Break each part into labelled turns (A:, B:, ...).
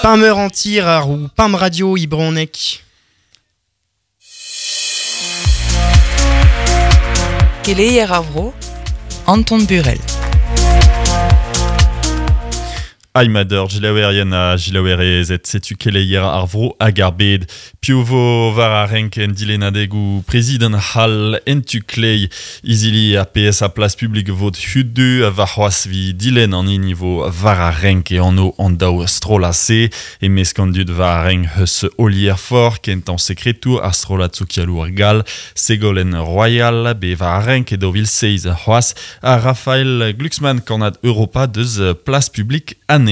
A: Pameur antir ar ou pam radio ibronek.
B: Keleier ar vro, Anton Burel.
C: Aimader, jilaouerien ha jilaouerezed, setu keleier ar vro hag ar bed. Piv vo war ar renk en dilennadegoù prezidant c'hall en tu klei izili ar PSA Place Publique vot hudu warc'hoazh vi dilenn an hini vo war ar renk e anv an daou strollad-se. E-mesk an dud war ar renk eus Olier Faure, kentañ sekretour ar strollad sokialour gall, Ségolène Royal, bet war ar renk e 2007 c'hoazh, ha Raphaël Glucksmann, kannad Europa deus Place Publique anezhañ.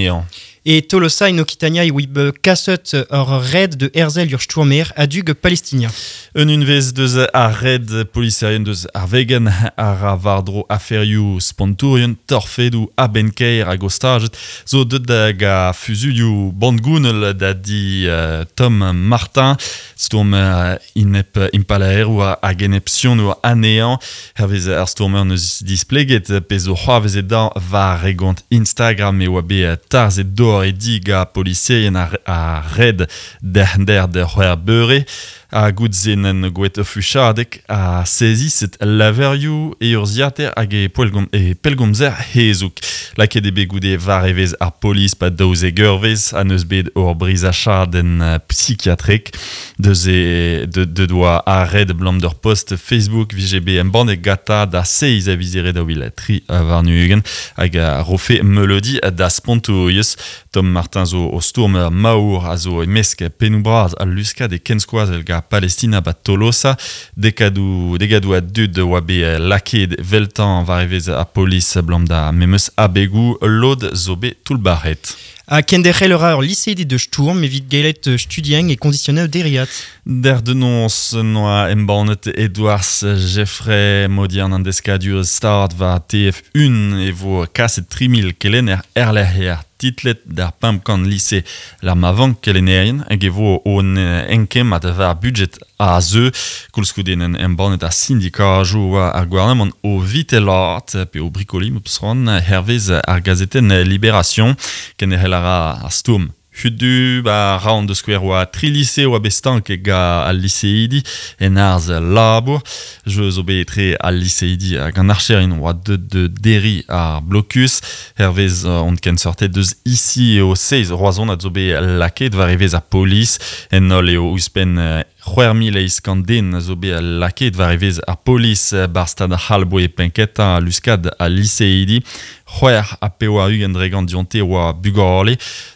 A: E Tolosa in Occitania e oa kaset ur red de herzel ur stourmer a-dug palestinien.
C: Un unvez deus ar red poliserien deus ar vegan a ra war-dro aferioù spontourien, torfedoù a-benn-kaer hag ostajet zo deuet da ga fuzuilhoù bandgounel da di Tom Martin, stourmer inep impalaerour hag enepsionour anezhañ. Hervez ar stourmer neus displeget pezh zo c'hoarvezet dañ war e gont Instagram e oa bet tarzhet dor e di ga poliserien ar, ar red derc'hnder d'ur c'hwec'h beure ha gout-se n'en gouet ur fuchadeg ha seziset laverioù e urzhiataer hag e, poellgom, e pellgomzer hezoug. Lakaet eo bet goude war evezh ar polis pa 12 eurvezh ha n'eus bet ur brizachadenn psikiatrek. Deus e deut oa ar red abalamour d'ur post Facebook vije bet embannet gantañ da seizh a viz Here 2023 hag a rofe meuleudi da spontouriezh. Tom Martin zo o stourm maour a zo e-mesk pennoù-bras al luskad e kenskoazell gant Palestina ba Tolosa. Dekadoù, degadoù a dud oa bet lakaet 'veltañ war evezh ar polis abalamour da memes abegoù. Lod zo bet toullbac'het.
A: Ha kenderc'hel a ra ur liseidi de stourm evit gellet studiañ e kondisionoù dereat.
C: Der denoñs noa embannet Edouard Geffray Modiern an deskadurezh stad war TF1 e vo kaset 3000 kelenner erlec'hier titlet d'ar 500 lise lec'h ma vank kelennerien hag e vo o enkemmat war budget a zeu. Koulskoude en embannet ar sindikajoù war ar gouarnamant o vitelat pe o brikoliñ m'eus hervez ar gazetenn Libération. Kenderc'hel a ra ar stourm hudu ba raon da skouer oa tri lise oa bet stank ga al liseidi en arz labour. Jeu zo bet etre al liseidi hag an archerien oa deut de derriñ ar blokus. Hervez on kenseurted deus ici eo seizh Roazhonad zo bet lakaet war evezh ar polis. En holl eo ouzhpenn 6800 den a zo bet lakaet war evezh ar polis 'bar stad c'hall 'boe penn-kentañ luskad al liseidi. 86% dionte oa bugale,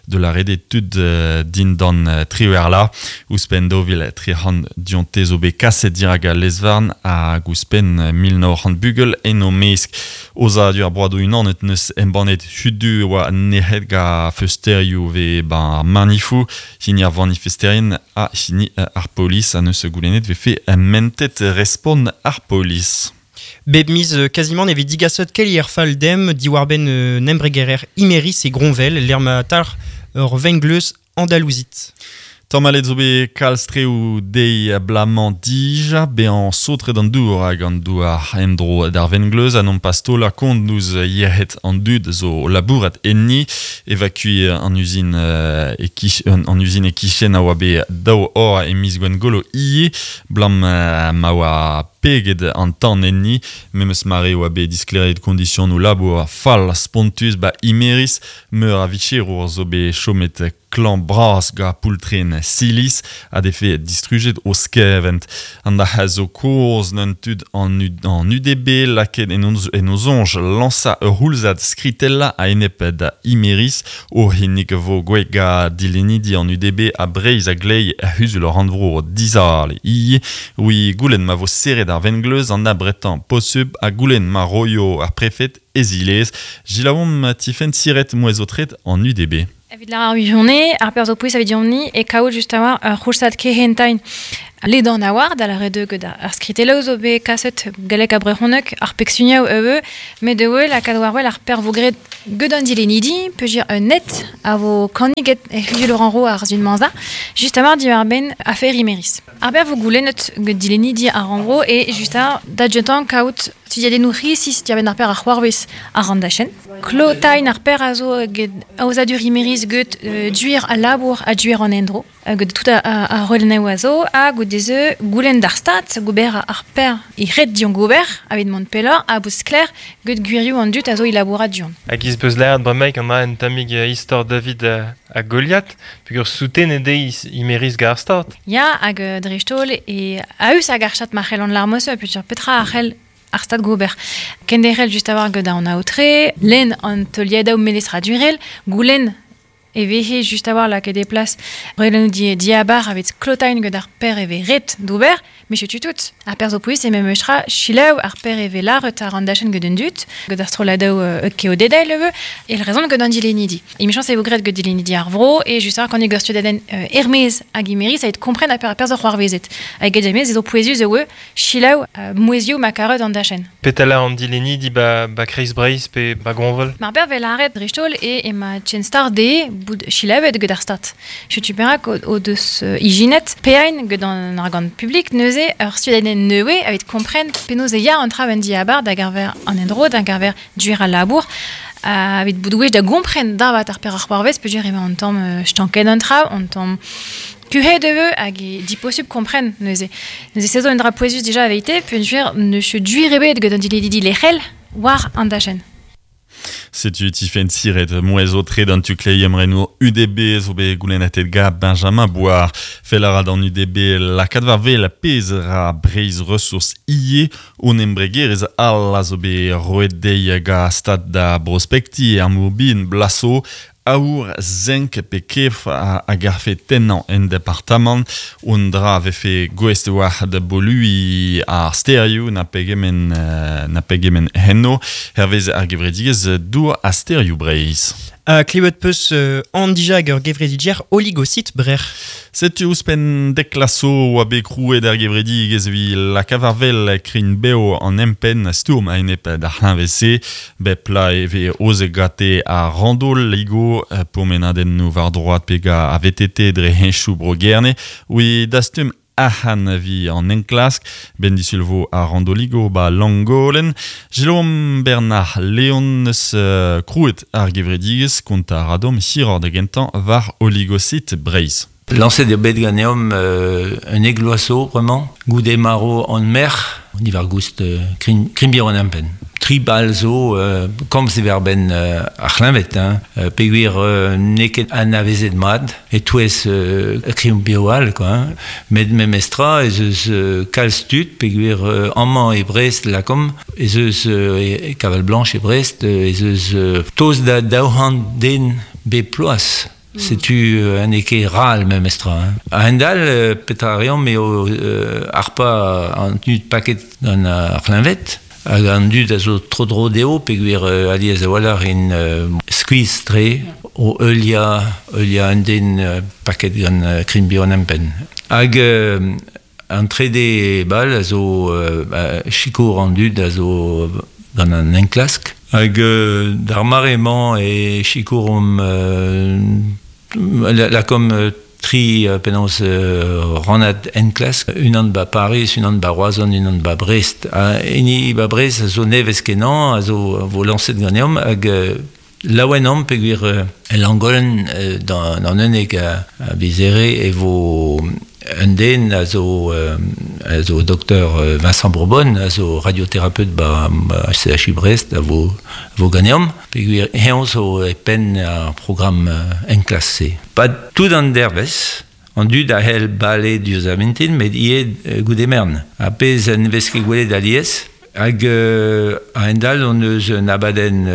C: da lâret eo tud dindan triwec'h vloaz. Ouzhpenn 2300 dionte zo bet kaset dirak al lez-varn hag ouzhpenn 1900 bugel en o mesk. Aozadur ar Broadoù Unanet 'neus embannet hudu e oa nec'het gant feulsterioù 'vez 'ba ar manifoù. Hini ar vanifesterien ha hini ar polis a neus goulennet vefe mentet respont ar polis.
A: Bep miz kazimant e vez digaset keleier fall demp diwar-benn un embregerer Imerys e Groñvel lec'h ma talc'h ur vengleuz andalouzit.
C: Tamallet zo bet kalz treoù dezhi abalamour dija bezañ saotret an dour hag an douar en-dro d'ar vengleuz ha nompas taolañ kont ouzh yec'hed an dud zo o labourat enni. Evakuiñ an uzin e-kichen an uzin e-kichen a oa bet daou eur e miz Gwengolo ivez, 'blam ma oa peget an tan enni. Memes mare e oa bet disklêriet kondisionoù labour fall spontus 'ba Imerys. Meur a vicherour zo bet chomet klañv-bras gant poultrenn Silis a defe distrujet o skevent. An da zo kozh n'eun tud an, an UDB lakaet en o soñj lañsañ ur c'houlzad skritellañ a-enep da Imerys. O c'hinnig vo gwech gant dilennidi an UDB ha Breizh a-gleiz er c'huzul rannvro dizale ivez. Oui, goulenn ma vo serret ar vengleuz an abretañ posubl ha goulenn ma roio ar prefed e zilez. Gilaomp Tifenn Siret mouezh-aotret an UDB.
D: Evit lâr ar wirionez, ar perzh zo pouez evit deomp-ni e kaout just a-walc'h ur c'houlzad kehentañ ledan a-walc'h, da lâret eo get ar skritelloù zo bet kaset galleg ha brezhoneg, ar pegsunioù ivez, met ivez lakaat war-wel ar perzh vo graet get an dilennidi, peogwir un net a vo kanniget e c'huzul rannvro ar sizhun-mañ-za, just a-walc'h diwar-benn afer Imerys. Ar perzh vo goulennet get dilennidi ar rannvro eo just a da gentañ kaout studiadennoù resis diwar-benn ar perzh a c'hoarvez àr an dachenn. Klotain ar per a zo get aozadur imeriz get duir a labour a duir an endro. Get tout a roelneu a zo, a goudeze goulen d'ar stat, gober ar per i red dion gober, avit mont pelor, a bouz kler, get gwirioù an dut a zo i laboura dion.
E: Hag iz beus laert bremaik an en tamig istor David a Goliath, pugur souten ede imeriz gar stat.
D: Ya, hag dreistol e a eus hag ar chat ma c'hell an larmos, putur petra a c'hell ar stad gober. Kenderel just a war gant an aotre, len an teuliadaou melestra durel, goulen e vehe just a war lakaet e plas relennoù di diabar avit klotain gant ar per e ve ret d'ober, me chetu tout. Ar per zo pouez e mem eustra chilaou ar per e ve laret ar an dachenn gant an dut, gant ar strolladaou keodedai leve, e le rezon gant an dilenidi. E michans e vo gret gant dilenidi ar vro, e just a war kan e gerstudaden Hermez hag imeri, ça et kompren ar per zo c'hoarvezet. Hag get jamez e zo pouezus e oe chilaou mouezioù ma karet an dachenn.
E: Petala an dilenidi ba Kreiz Breiz pe ba Gronvel.
D: Mar per vel aret dreistol e ema tchenstar de bout chilavet get ar stat. Chetu perak o deus ijinet peain get an argant publik neuze ur studaden neue avit kompren penaos e ya an tra ben diabar da garver an endro, da garver duer al labour, avit bout gwech da gompren davat ar per ar c'hoarvez, peogwir ema an tamm stanket an tra, an tamm kuhet eve hag e diposub kompren neuze. Neuze sezo un dra pouezus dija aveite, peogwir ne che duir ebet get an diledidi lec'hel war an dachenn.
C: Setu Tifenn Siret, mouez o tre d'an tu klei emrenour UDB zo bet goulennatet ga Benjamin Boire. Fel a ra d'an UDB lakaat war wel pezh ra Breizh Ressources IE on embregerezh all a zo bet roet dezhi ga stad da brospekti ar mourbin blaso aour zenk pe kef a garfe tennañ en departamant on dra vefe gouest war da bolui ar sterioù na pegement henno hervez ar gevredigezh dour a sterioù Breizh.
A: Klevet peus an dija hag ur gevrediger oligosit brer.
C: Setu ouzhpenn dek laso oa bet krouet ar gevredigezh evit lakaat war wel krin beo an empenn stourm a-enep d'ar c'hleñved-se. Bep pla e vez oze gate ar rando ligo pourmenadennoù war droad pe ga a VTT dre henchoù bro Gerne oui dastum arc'hant vi an enklask, ben disulvo a randoligo ba Langolen. Jérôme Bernard Léon eus krouet ar gevredigezh kont ar radom hiror da gentañ war oligosit Breizh.
F: Lancet eo bet ganeomp un egloaso, vraiment, goude maro an mer, on y var goust krimbir an empen. Tri bal zo, komz e verben ar c'hleñved, hein, peogwir n'eo ket anavezet mat, e touez krimbir all, quoi, hein. Met memestra ez eus kalz tud, peogwir amañ e Brest lakom, ez eus e Kaval Blanche e Brest, ez eus toz da daouhant den bep ploaz. Setu un ket ral memestra. Hein. A hendal, petra a reomp eo arpa an dud paket gant ar c'hleñved, hag an dud a zo tro-dro dezho, peogwir alies a-walc'h in skuizh tre o heulia un den paket gant krimbir an empenn. Hag an trede bal a zo sikour an dud a zo gant an enklask. Hag d'ar mare-mañ e sikour omp lakom tri penaos rannad enklask, unan ba Paris, unan ba Roazhon, unan ba Brest. Ha hini ba Brest a zo nevez kenañ, a zo vo lañset ganeomp, hag laouen omp peogwir el Langolen d'an unnek a vizere e vo un den a zo docteur Vincent Bourbon, a zo radiothérapeute ba CHU Brest, a vo ganeomp, peogwir eñ zo e penn ar programm enklask-se. Pa tout an dervez, an dud a c'hell bale diouzh ar mintin, met ivez goude mern. A pezh en vez ket gwelet alies, hag a hendall on eus un abadenn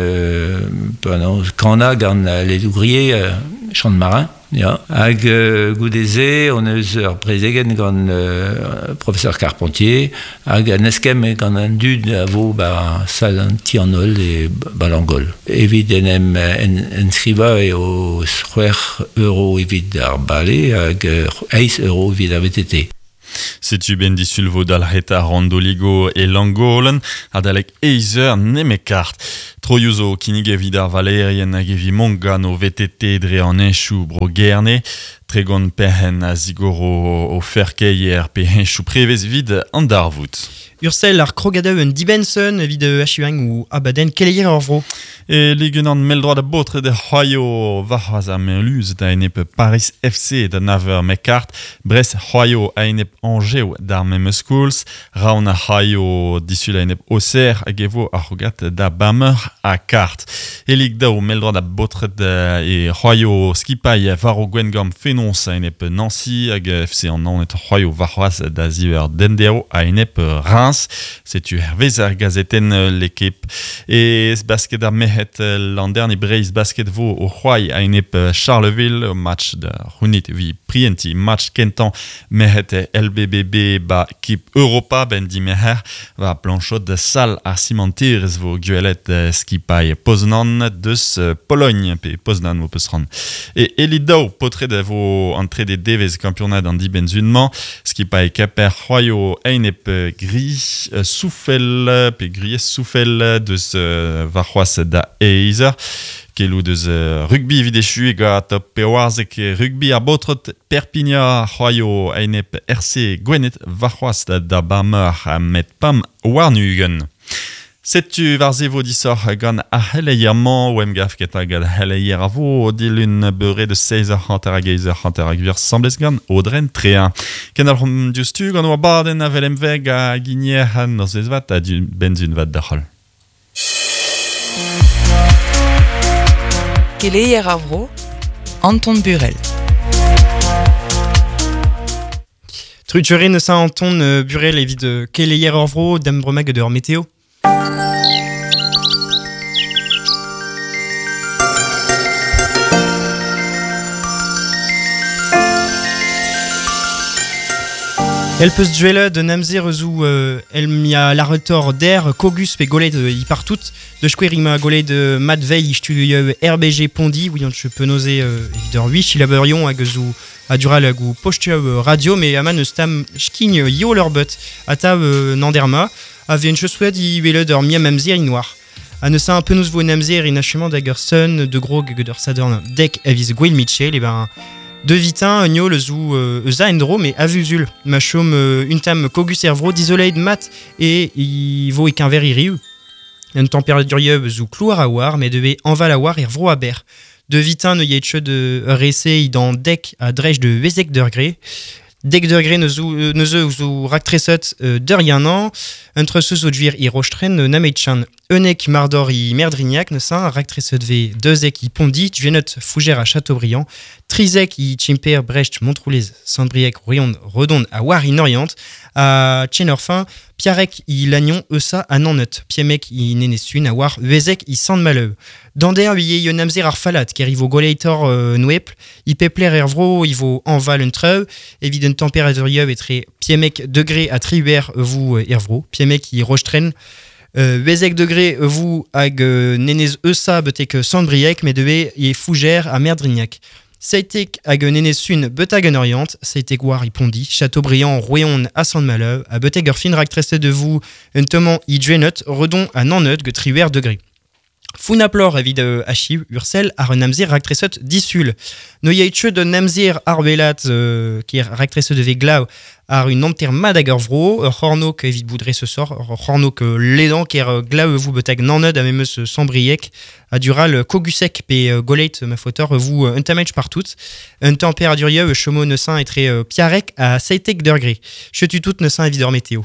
F: kana gant les ouvriers chant marin. Ja. Hag goude-se, on eus ur prezegen gant professeur Carpentier, hag an eskemm gant an dud a vo ba sal an ti an holl e ba Langol. Evit en em enskriva eo 6 € evit ar bale hag 8 € evit ar VTT.
C: Setu ben disulvo dalc'het ar randoligo e Langolen, adalek eizer nemekart. Troioù zo kinnig evit ar valerien hag evit mont gant o VTT dre an enchoù bro Gerne. Tregon perhen a zigoro o ferkeier pe henchou prevez vid an darvout.
A: Ursel ar krogadeu un dibenson evit achiuang ou abaden keleier ur vro.
C: E ligenan meldroad a botre de c'hoaio varc'hoaz ar merluz da enep Paris FC da naver mekart, Brest c'hoaio a enep Angers d'ar memes koulz, Raon a c'hoaio disul a enep Auxerre hag evo ar c'hogat da Bamer a kart. E lig daou meldroad a botre e c'hoaio skipai varo Gwengam fenons a enep Nancy hag FC an naon et c'hoaio varc'hoaz da ziver dendero a enep Reims. Setu hervez ar gazeten l'équipe. E basket ar mehet l'an dernier Breiz basket vo o c'hoai a enep Charleville match da c'hounit vi prienti match kentan mehet LBBB ba kip Europa ben di meher va planchot de sal ar cimenterez vo guelet skipai Poznan deus Pologne pe Poznan vo peus ran. E Elidao potret vo entre des devez campionat an diben zunman skipai Keper c'hoaio enep gris soufel pe gris soufel deus varc'hoaz da eizer kelou deus rugby videchu e gant pewarzek rugby ar botrot Perpignan c'hoaio enep RC Gwened varc'hoaz da bameur met pam warnugen. Setu war ze vo disoc'h gant ar c'heleier-mañ o emgav ket hag ar c'heleier a vo dilun beure de 16h hag 8h hag vir semblez gant Audren Tréa. Ken al c'hom diouzhtu gant oa baden a vel emveg a ginier an ur zezvat a du benzun vat da c'hol.
B: Keleier ar vro, Anton Burel.
A: Truturin Saint-Anton Burel evit keleier ar vro d'embremag d'ur météo. El peus duelle de namzer zou el mia l'arretor der kogus pe golet i partout de chkwer ima golet de Matvei studio RBG Pondi oui on penoze evit ur wich il abeurion hag zou a dural hag ou postio radio mais aman eus tam skign yo leur but ata nanderma a ven chosoued i wele d'ur mia mamzer i noir. A ne sa un peu nous vo namzer in achement d'ag ur sun de gros hag ur sadorn dek aviz Gwen Mitchell et ben de vitin nio le zou eus a endro mais avuzul ma chom un tam kogus ervro disoleid mat et i vo e keñver iriu un température zou klouar a war mais deve enval a war ervro a ber de vitin ne yetche de rese i dan dek a drej de wezek degré dek degré ne zou zou raktresot d'ur yanan un treseus o dvir i rochetren nametchan Eunek mardor i merdrignac ne saint raktresot ve dezek i pondi dvenot fougère à Châteaubriand trizek i chimper Brecht Montroulez Saint-Brieuc Royon Redon à war in Orient a Tchenorfin Piarek i Lannion Eusa a Nannet Piemek i Nenesun a war Uezek i Sant-Maleu Dander i yon amzer ar falat ker i vo goleitor nouepl i pepler ervro i vo enval un treu evit un température etre Piemek degré a triuer vous ervro Piemek i Rochetren Wezek degré vous hag nenez eusa betek Sant-Brieuc mais deve i fougère à Merdrignac. Seitek hag nenez sun betag en Orient, seitek war i Pondi, Châteaubriand Royon à Sant-Maleu, a beteg ur fin raktreste de vous un toman i dvenot, redon à nannet ge triuer degré. Founaplor evit achiv ursel ar un amzer raktresot disul. No yaitche de namzer ar welat ki raktresot de ve glav ar un anter mad hag ur vro, ur c'hornok evit boudre ce sort, ur c'hornok ledan ker glav vous betag nannet a memeus sambriek a dural kogusek pe goleit ma fotor vous un tamech partout. Un température chomo ne saint etre piarek a seitek degré. Chetu tout ne saint evit ur météo.